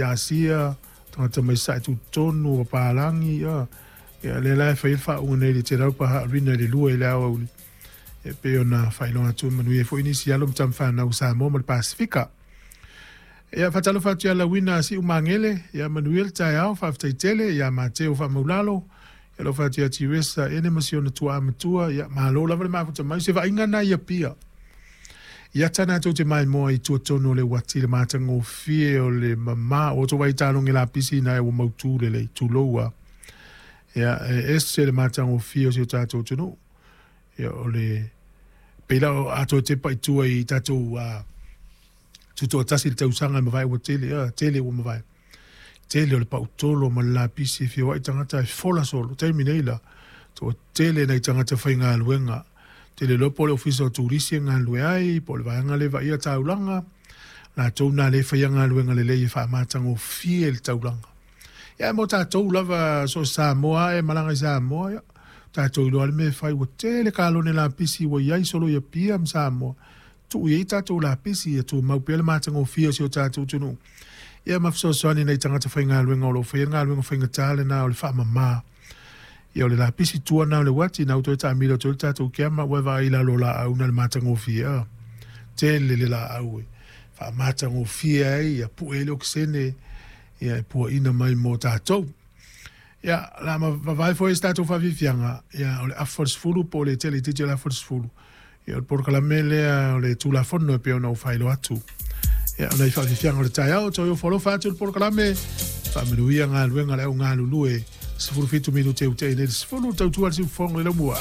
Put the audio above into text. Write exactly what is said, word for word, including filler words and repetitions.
Asia, tagata mai sae tutotonu o papalagi, ia. Ia lea la e fai ai le faauuga nei i le te paha rina i le lua i le aoauli e pei ona faailoga atu, manuia foi nisi alo ma tamafanau Samoa ma le Pasifika. Ia faatalofa atu ia Lauina Siu Magele, ia manuia le taeao, faafetai tele ia Mateo Faamaulalo, ia alofa atu ia Tiresa ene ma si ona tuaa matua, ia malo lava le mafuta mai se vaaiga na ia pia. Ia tana tou te maimoa i tuatonu o le uati le matagofie o le mamā o outou vaitaloge lapisi na e ua mautū lelei tulou a. Ia e ese le matagofie o si o tatou atunuu. Ia o le pei la o a toe tepa i tua i tatou uh, tutoatasi i le tausaga e mavae ua tele, uh, tele ua mavae. Tele o le pautolo ma le lapisi e feoai tagata e fola solo. Taimi nei la, toatele nai tagata faigaluega. Tele loa po o le ofisa o turisi e galulue ai, po o le vaega le vaaia taulaga, latou na le faia galuega lelei e faamatagofie le taulaga. Ia mo tatou lava so o Samoa e malaga i Samoa, ia tatou iloa le mea e fai, ua tele kalone lapisi ua iai solo i Apia ma Samoa. Tuu i ai tatou lapisi ia tumau pea le matagofie o si o tatou atunuu. Ia ma fesoasoani nai tagata faigaluega o lo o faia le galuega faigata lena o le faamama. Ia o le lapisi tua na o le uati na ua toe taamilo atu ai le tatou keama ua e vaai i lalo o laau na le matagofie a. Tele le laau e faamatagofie ai, ia pue ai le okesene, ia e puaina mai mo tatou. Ia, la ma vavae foi se tatou faafiafiaga, ia o le afa o le sefulu po o le tele itiiti o le afa o le sefulu. Ia o le polokalame lea o le Tulafono e pei ona ou faailoa atu. Ia o nai faafiafiaga o le taeao, toe ofo alofa atu le polokalame, faamanuia galuega le au galulue, sefulu fitu minute ua tea nei le sefulu, tautua le siufofoga i lau mua.